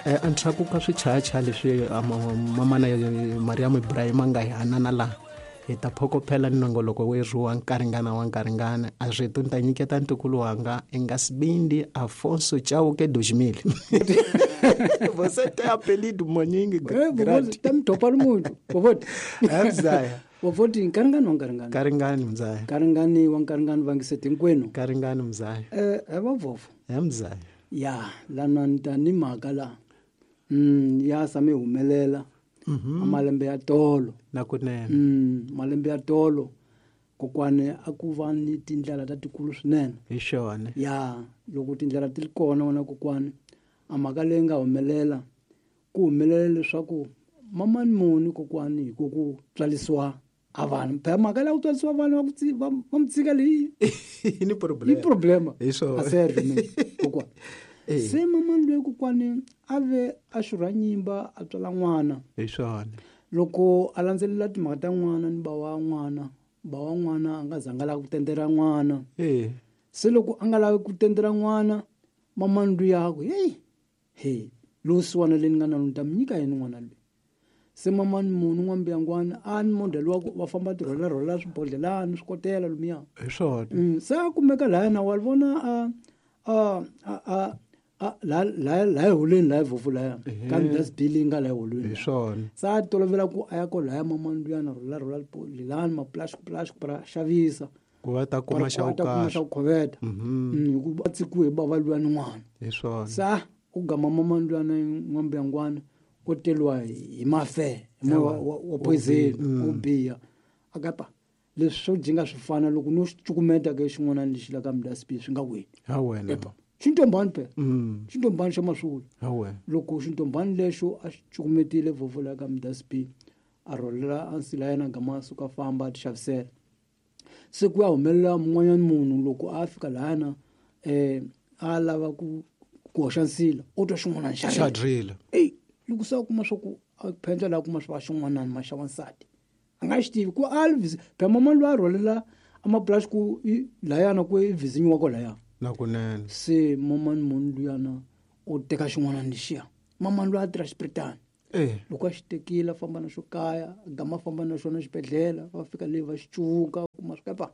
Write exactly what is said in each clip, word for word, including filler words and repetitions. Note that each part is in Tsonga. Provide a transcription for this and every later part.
Eh, endzhaku ka swichayachaya leswi ah, ma- mamana eh, Mariam Ibrahim a nga hi hanana laha hi ta phokophela ni nongoloko werhu wa nkaringana wa nkaringana a rito ni ta nyiketa ntukulu wanga engasibindi Afonso Chauke Dojimile. Você tem apelido maningi. Eh, vovoti tamdopa lumuntu vovoti. Mzaya. Vovoti nkaringani wa nkaringani. Karingani mzaya. Nkaringani wa nkaringani vangiseti hinkwenu. Karingani mzaya. Eh, he vavovo. Eh, mzaya. Ya lana ni ta ni mhaka la mm ya sami humelela Mhm. a malembe ya tolo. Na kunene. Mm malembe ya tolo kokwane a ku va ni tindlela ta tikulu swinene. Hi xona. Ya loko tindlela ti ri kona wena kokwane a mhaka leyi nga humelela ku humelela leswaku mamani muni kokwani hi ku ku tswalisiwa a vanhu phela mhaka leyi ku tswalisiwa vanhu va ku tsi- va va mi tshika leyi Yi ni problem. yi problema. Hi swona. A serve mina kokwana. Eh. Se mamani loyi kokwani a ve a xurha nyimba a tswala n'wana. Hi swona. Loko a landzelela timhaka ta n'wana ni ba wa n'wana, ba wa n'wana a nga zanga lava ku tendera n'wana. Eh. Se loko a nga lavi ku tendera n'wana, mamani luya a ku, hey, hey, lowu siwana leyi ni nga na ni ta mi nyika yini n'wana loyi? Se mamani munhu n'wambiyangwana a ni model wa ku va famba ti rhwala rhwala swibodhlelani swikotela lomuya. Hi swona. Mm, se a kumeka lahaya na wa vona a, a, a, a, a, la, la, la eholweni la vofu laya. Ehe. Ka dustbin leyi nga la eholweni. Hi swona. Se a tolovela ku a ya ko laya mamani luya na rhwala rhwala lelani maplastic plastic pra xavisa. Ku va ta kuma xa Ku va ta kuma ku xa ku khoveta. Mhm. Mm, hikuva a tsikiwe hi bava luya ni n'wana. Hi swona. Se a u gama mamani luya na n'wambiyangwana u teliwa hi mafe, hi moya wa, wa, wa poison, Mm. wo biha. A kapa leswi swo jinga swi fana loko no xi cukumeta ke xin'wana lexi la ka dustbin swi nga weli. Ha wena. Epa, xintombani phela. Mm. Xintombani xa maswula. Ha wena. Loko xintombani lexo a xi cukumetile vovo la ka dustbin, a rholela a nsila yena gama a suka famba a ti xavisela. Se ku ya humelela mun'wanyana munhu loko a fika lahana, eh, a lava ku, ku hoxa nsila, u twa xin'wana xa Xa rila. rila. Ey, loko se a kuma swa ku a phendla laha kuma swa xin'wanani ma xa wansati. A nga xi tivi ku a li phela mamani loyi a rhwalela a mapulasi ku i lahayana ku i vizinyiwa ko lahaya. Na kunene. Se mamani munhu luyana u teka xin'wana lexiya. Mamani loyi a tirha xipiritani. Eh. Loko a xi tekile a famba na xo kaya, a gama a famba na xona xibedhlele, va fika le va xi cuvuka, kuma swi kapa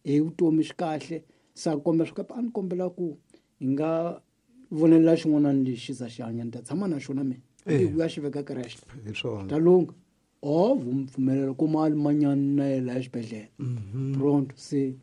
hi vutomi swi kahle. Se a kombela swi kapa a ni kombela ku hi nga vonelela xin'wana lexi za xi hanya, ni ta tshama na xona mina. Eh. Hi ku ya xi veka creche. Hi swona. Ta lungha. O pfumelela ku mali manyana na yena laha xibedhlele. Mhm. Pronto se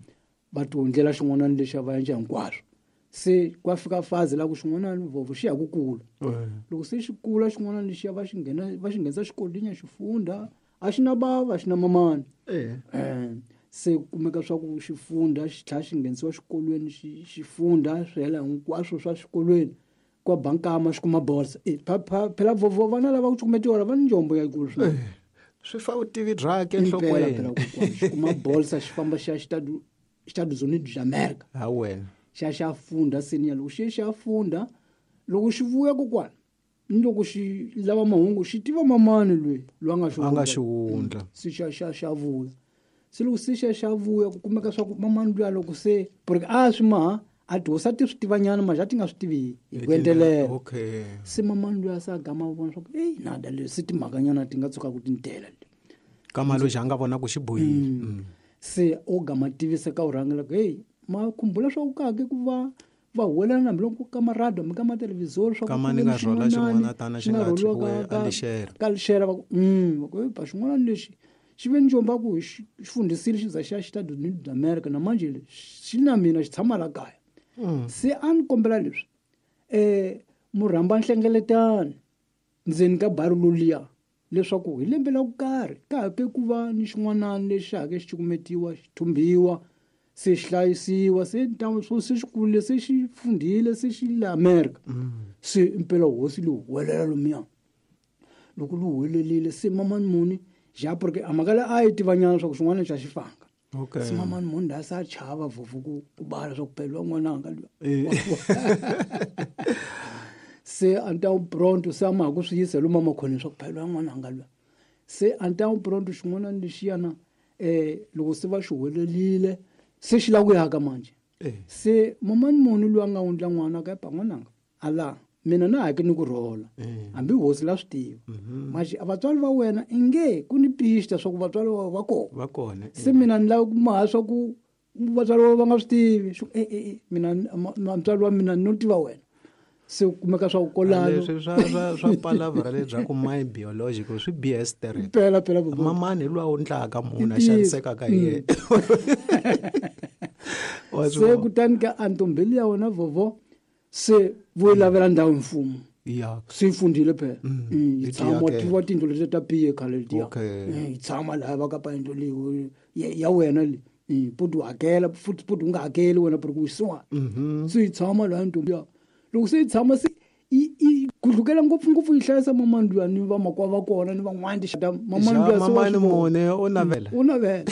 va ti wundlela xin'wana lexi a va endla hinkwaswo. Se kwa fika fazi la ku xin'wana vovo xi ya ku kula. Eh. Loko se xi kula xin'wana lexi va xi nghena, va xi nghenisa xikolweni xi funda, a xi na bava, a xi na mamani. Eh. Eh, se kumeka swa ku xi funda, xi tlhela xi nghenisiwa xikolweni, xi, xi funda swi hela hinkwaswo swa xikolweni. Kwa bankama xi kuma bolsa. Eh, pha, pha, phela vovo vana lava ku cukumetiwa va ni njombo ya kulu swinene. Eh, swi fa vutivi byakhe Impela, enhlokweni. phela kokwana, xi kuma bolsa xi famba xi ya Estados, Estados Unidos de America. Ha wena. Xi ya xi ya funda senior. Loko xi ya xi ya funda, loko xi vuya kokwana, ni loko xi lava mahungu, xi tiva mamani loyi, loyi a nga xi A nga wundla. xi wundla. Mm. Se xa, xa, xa vuya. Se loko se xa, xa vuya, ku kumeka swa ku mamani luya loko se, porque a swi maha, a tihosi a ti swi tivanyana, manje a ti nga swi tivi hi ku entelela. Okay. Se mamani luya se a gama a vona swa ku, ey, nada leswi se timhakanyana ti nga tshuka ku ti ni tela leti. Ka maloji a nga vona ku xi bohile. Mm. Mm. Se o gama tivisa ka urhangela ku, hey, ma khumbula swa ku ka ke ku va va huwelela hambi loko ka maradio hambi ka mathelevhizori swa ku Ka mani ku ve nga ni rhwala xin'wanani xin'wana tana xi xi nga nga rhwaliwa tshikiwe ka- a ka- lixera. ka lixera, va ku, mm, va ku, hey, ba xin'wana lexi xi ve ni njomba ku xi, xi fundhisile xi za xi ya Estados Unidos de America, na manje xi na mina xi tshama la kaya. Mm. Se a ni kombela leswi, eh, murhamba nhlengeletano ndzeni ka bari loluya leswaku hi lembe la ku karhi ka ha ke ku va ni xin'wanani lexi ha ke xi cukumetiwa, xi thumbiwa, se xi hlayisiwa, se ntamu swo se xi kurile, se xi fundhile, se xi le America. Mm. Se impela hosi leyi huwelela lomuya. Loko li huwelerile, se mamani muni ja, porque a mhaka leyi a yi tivanyana swa ku xin'wana xa xi fanga. Okay. Se mamani muni la se a chava vovo ku, ku bala swa ku phela n'wananga luya. Eh. Se a ni ta wu pronto, se a ma ha ku swi yisa lomu emakhoneni swa ku phela n'wananga luya. Se a ni ta wu pronto xin'wana lexiyana, eh, loko se va xi huwelerile, se xi lava ku ya ka manje. Eh. Se mamani muni loyi a nga wundla n'wana ka epa n'wananga, a la Mina na hake ni ku rhola. Hambi hosi la swi tiva. Manje vatswari va wena inge ku ni pista swa ku vatswari va va kona. Va kona. Se mina ni lava ku maha swa ku vatswari va va nga swi tivi. Swi e e mina mutswari wa mina no tiva wena. Se kumeka swa ku kolano. Leswi swa swa swa palavra lebyaku my biological swi B S tere. Phela phela mamani hi lwa undlaka munhu a xanisekaka hi yena. Se kutani ka antombeli ya wena vovo se vo lavela ndhawu mfumo. Ya. Se fundile phela. Yi tshama tiva tindlu leti ta piye khale letiya. Yi tshama laha va ka pa yindlu leyi ya wena le. Puti hakela futhi puti u nga hakeli wena por ku wisiwa. Se yi tshama laha ntombi ya. Loko se yi tshama se i i gudlukela ngopfu ngopfu yi hlayisa mamani luya ni vamakwavo va kona ni van'wana tixata mamani luya se mamani mune u navela. U navela.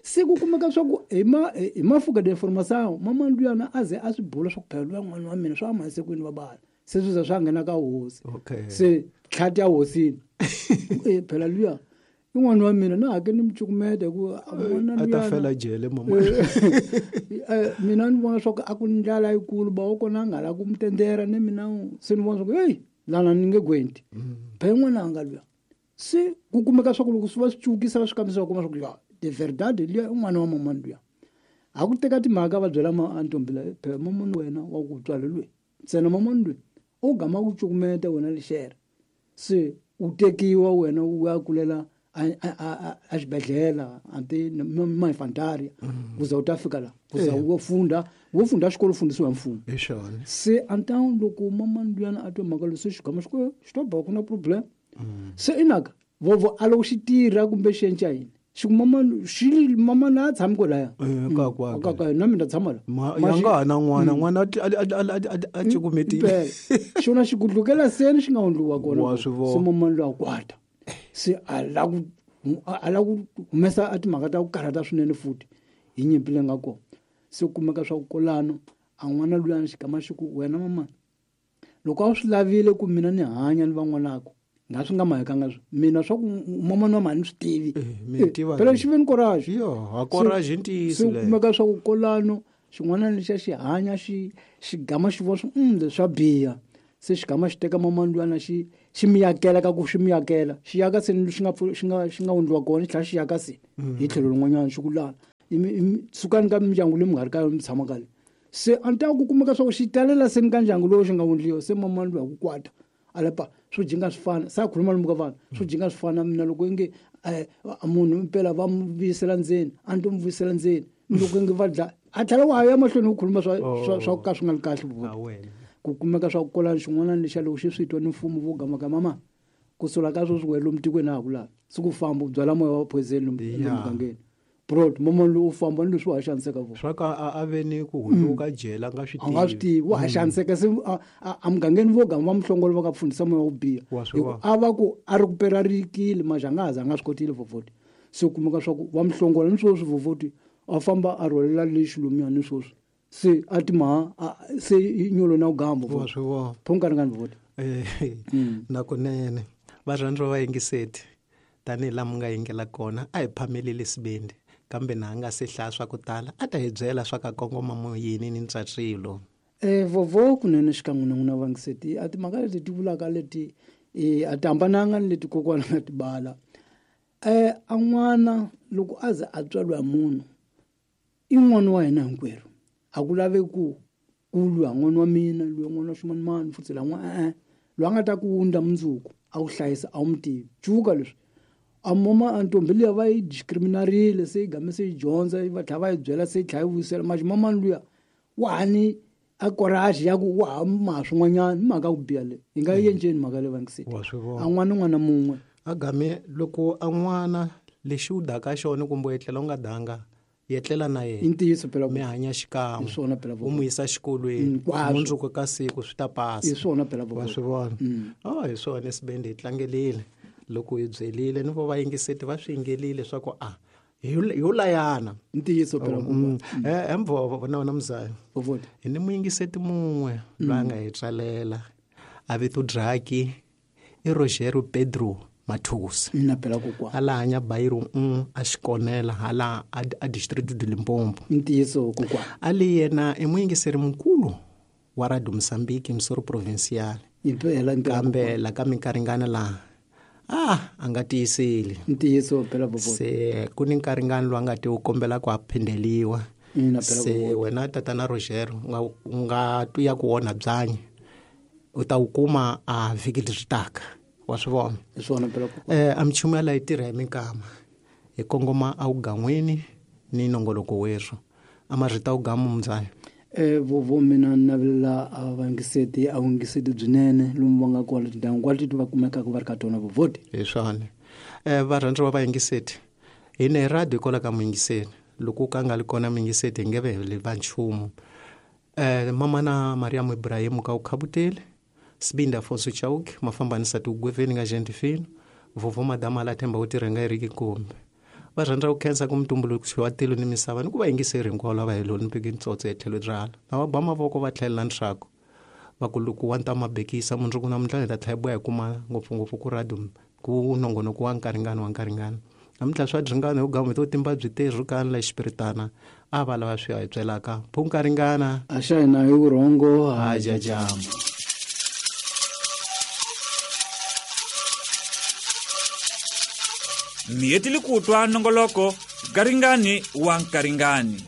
Se ku kumeka swa ku hi ma hi mafuka de information mamani luya na a ze a swi bula swa ku phela luya n'wana wa mina swa masikwini va bala. Se swi za swa nghena ka hosi. Se tlhati ya hosini. Eh phela luya i n'wana wa mina na hake ni mi cukumeta hi ku n'wana a ta fela jele mama. Mina ni vona swa ku a ku ndlala yikulu ba wa kona a nga la ku mi tendera ni mina se ni vona swa ku hey lana ni nge gwenti. Phela n'wana a nga luya. Se ku kumeka swa ku loko swi va swi cukisa va swi kambisa va kuma swa ku ya de verdade luya i n'wana wa mamani luya. A ku teka timhaka va byela ma antombi la phela mamani wena wa ku tswala luya. Ntsena mamani luya u gama ku cukumeta wena lexere. Se u tekiwa wena u ya kulela a a xibedhlele anti ma infantaria kuze u ta fika la kuze u funda wo funda xikolo fundisiwa mfumo. Hi xona. Se antan loko mamani luyana a twa mhaka leyi se xigama xi ku xi to ba ku na problem. Se inaka vovo a loko xi tirha kumbe xi endla yini xi ku mamani xi mamani a tshami kwalaya. Ka kwa ka ka na mina tshama la. Ya nga ha na n'wana n'wana a cukumetile. Xona xi gudlukela seni xi nga hundliwa kona. Se mamani luya kwata. Se a la ku a la ku humesa a timhaka ta ku karhata swinene futhi hi nyimpi leyi nga kona. Se kumeka swa ku kolano a n'wana luya xigama xi ku wena mama loko a wu swi lavile ku mina ni hanya ni van'wanako nga swi nga mahekanga swi mina swa ku mamani wa mhani swi tivi. Phela xi ve ni courage. Yo, a courage i ntiyiso leyo. Se kumeka swa ku kolano xin'wana lexa xi hanya xi xigama xi vona swi mm swa biha. Se xigama xi teka mamani luyana xi xi miyakela ka ku xi miyakela xi yaka se xi nga xi nga xi nga wundliwa kona xi tlhela xi yaka se hi tlhelo rin'wanyana xi ku lala sukani ka mindyangu leyi mi nga ri ka yona mi tshama ka le. Se a ni ta ku kumeka swa ku xi talela se ni ka ndyangu lowu xi nga wundliwa se mamani luya ku kwata a lapa swo jinga swi fana sa khuluma lomu ka vanhu swo jinga swi fana mina loko inge munhu impela va mu vuyisela ndzeni a ni to mu vuyisela ndzeni loko inge va dla a tlhela wa ya mahlweni ku khuluma swa swa swa ka swi nga ri kahle vona. Ku kumeka swa ku kolana xin'wana lexa loko xi swi twa ni mfumo vo gama ka mama ku sula ka sweswi wena lomu tikweni a ha ku lavi se ku famba u byala moya wa poison lomu mugangeni brod mamani lowu u famba ni leswi wa ha xaniseka vona swa ka a ve ni ku hundzuka jele a nga swi tivi a nga swi tivi wa ha xaniseka se a mugangeni vo gama va muhlongolo va ka fundisa moya wo biha a va ku a ri ku pera rikile manje a nga ha za a nga swi kotile vovoti se kumeka swa ku va muhlongola ni sweswi vovoti a famba a rhwalela lexi lomuya ni sweswi se a timaha se nyolo na ugambo wa swi vona phonkaringani vovoti na kunene varhandzi va yingiseti tanihi laha mi nga yingela kona a hi phameleli sibindi kambe na nga se hlaya swa ku tala a ta hi byela swa ka kongoma moyeni ni ntswatswilo. Eh vovo kunene xikan'we na n'wina vangiseti a timhaka leti ti vulaka leti a ti hambananga ni leti kokwana nga ti bala. Eh a n'wana loko a ze a tswariwa munhu i n'wana wa hina hinkwerhu. A ku laveki ku ku lwa n'wana wa mina lwa n'wana wa ximanimani futhi la n'wana e-e loyi a nga ta ku wundla mundzuku a ku hlayisa a wu mi tivi cuka leswi a mama a ntombi liya va yi discriminarile se yi game se yi dyondza va tlhela va yi byela se yi tlhela yi vuyisela manje mamani luya wa ha ni a courage ya ku wa ha maha swin'wanyana ni mhaka ku biha leyi hi nga yi endleni mhaka leyi vangiseti a n'wana n'wana mun'we a game loko a n'wana lexi u daka xona kumbe u etlela u nga danga yetlela na yena i ntiyiso phela mi hanya xikan'we hi swona phela u n'wi yisa xikolweni mundzuku ka siku swi ta pasa hi swona phela wa swi vona oh hi swona sibende hi tlangelile loko hi byelile ni vo va yingiseti va swi yingelile swa ku a yo layana ntiyiso phela eh emvo na wena mzaya hi ni muyingiseti mun'we loyi a nga hi tsalela a vito Draki i Rogério Pedro Mathusi na phela kokwana ala hanya Bairro un a xikonela hala a district de Limpopo ntiyiso kokwana ali yena i muyingiseri mukulu wa Radio Mozambique Missouri Provincial. Impela impela. Kambe la ka minkaringana laha ah a nga tiyiseli. Ntiyiso phela vovoti. Se ku ni nkaringano lowu a nga ti wu kombela ku a phindeliwa. Ina phela se vovoti. Wena tatana Roger u nga u nga twiya ku onha byanyi u ta wu kuma a vhiki leri taka wa swi vona. Hi swona phela kokwana. Eh a minchumu ya leyi tirha hi minkama hi kongoma a wugan'wini ni nongoloko werhu a marito a wugamu muzala. Eh vovo mina ni navelela a vayingiseti a vuyingiseti byinene lomu va nga kona tindhawu hinkwato leti va kumekaka va ri ka tona vovoti. Hi swona. Eh varhandziwa va vayingiseti hi ne radio kwala ka muyingiseri loko ka nga li kona muyingiseti hi nge ve hi va nchumu. Eh mamana Mariam Ibrahim ka u khabutele Sibinda Afonso Chauke mafambanisa tigweveni nga gente fino vovo madama la themba u tirhenga hi riki kumbe va rhandza ku khensa ku mutumbuluxi wa tilo ni misava ni ku va yingiseri hinkwavo lava hi loni mpiki ntsotso etlhelo rala na va ba mavoko va tlhelela ntshaku va ku loko wa nta mabekisa mundzuku namuntlha hi ta tlhela hi boha hi kuma ngopfungopfu ku radio ku nongonoko wa nkaringano wa nkaringano namuntlha swa dringano hi gamu to timba byi tirhu ka la xipiritana a va lava swi ya hi byelaka phu nkaringana a xa hina hi vurhongo ha jajama. Mi hetile ku twa nongoloko Garingani wa Nkaringani.